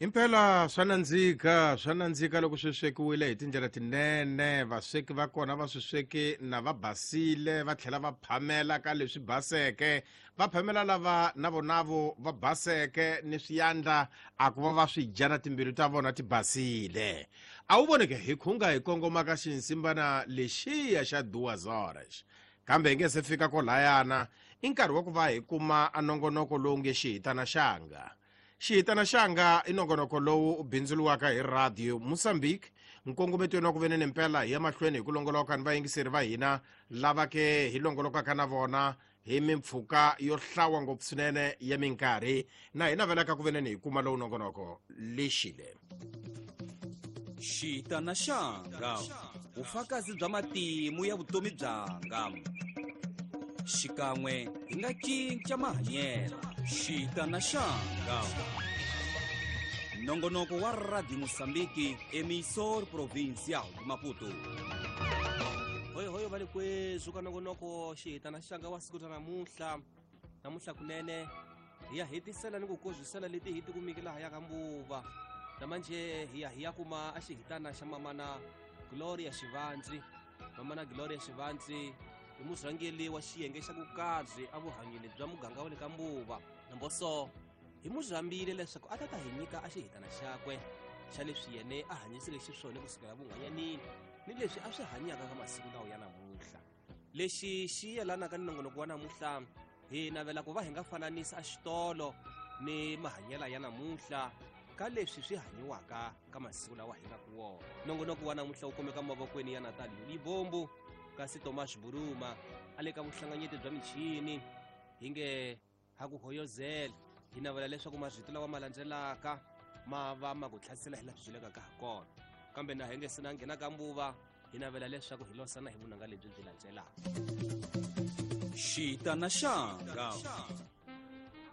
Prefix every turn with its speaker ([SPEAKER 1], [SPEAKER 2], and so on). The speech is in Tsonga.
[SPEAKER 1] Impela swa nandzika, swa nandzika loko swi swekiwile hi tindlela tinene. Vasweki va kona va swi sweke na va basile, va tlhela va phamela ka leswi baseke, va phamela lava na vonavo va baseke ni swiyandla a ku va va swi dya na timbilu ta vona ti basile. A wu voneke hi khunga hi kongoma ka xinsimbana lexiya xa duas horas. Kambe hi nge se fika kolayana, i nkarhi wa ku va hi kuma a nongonoko lowu nge xihitana xanga. Xihitana xanga i nongonoko lowu u bindzuriwaka hi Radio Mozambique. Nkongometweni wa ku venene mpela hi ya mahlweni hi ku longoloka ni vayingiseri va hina lava ke hi longolokaka na vona hi mimpfhuka yo hlawa ngopfu swinene ya minkarhi, na hi navelaka ku veneni hi kuma lowu nongonoko lexile.
[SPEAKER 2] Xitana xanga, vufakazi bya matimu ya vutomi byanga. Xikan'we hi nga cinca mahanyelo. Xitana xanga, nongonoko wa Radio Mozambique, emissor provincial de Maputo.
[SPEAKER 3] Hoyo hoyo va le kwezu ka nongonoko xihitana xanga wa siku ra namuntlha. Namuntlha kunene hi ya hetisela ni ku kozwisela leti hi tikumiki laha ya ka Mbuva. Namanje hi ya hi ya kuma a xihitana xa mamana Gloria Xivandzi. Mamana Gloria Xivandzi i murhangeri wa xiyenge xa vukarhi evuhanyeni bya muganga wa le ka Mbuva. Namboso hi mu rhambile leswaku a ta ta hi nyika a xihitana xakwe xa leswi yene a hanyiseke xiswona kusukela vunhwanyanini ni leswi a swi hanyaka ka masiku lawa ya namuntlha. Lexi xi yelanaka ni nongonoko wa namuntlha, hi navela ku va hi nga fananisa a xitolo ni mahanyela ya namuntlha ka leswi swi hanyiwaka ka masiku lawa hi nga ku wona. Nongonoko wa namuntlha wu kumeka mavokweni ya Natal Yulibombu, kasi Thomas Buruma a le ka vuhlanganyeti bya michini. Hi nge ha ku hoyozela, hi navela leswaku marito lawa ma landzelaka ma va ma ku tlhasela hi laha swi byelekaka ha kona. Kambe na hi nge se na nghena ka Mbuva, hi navela leswaku hi losana hi vunanga lebyi byi landzelaka.
[SPEAKER 2] Xitana xanga.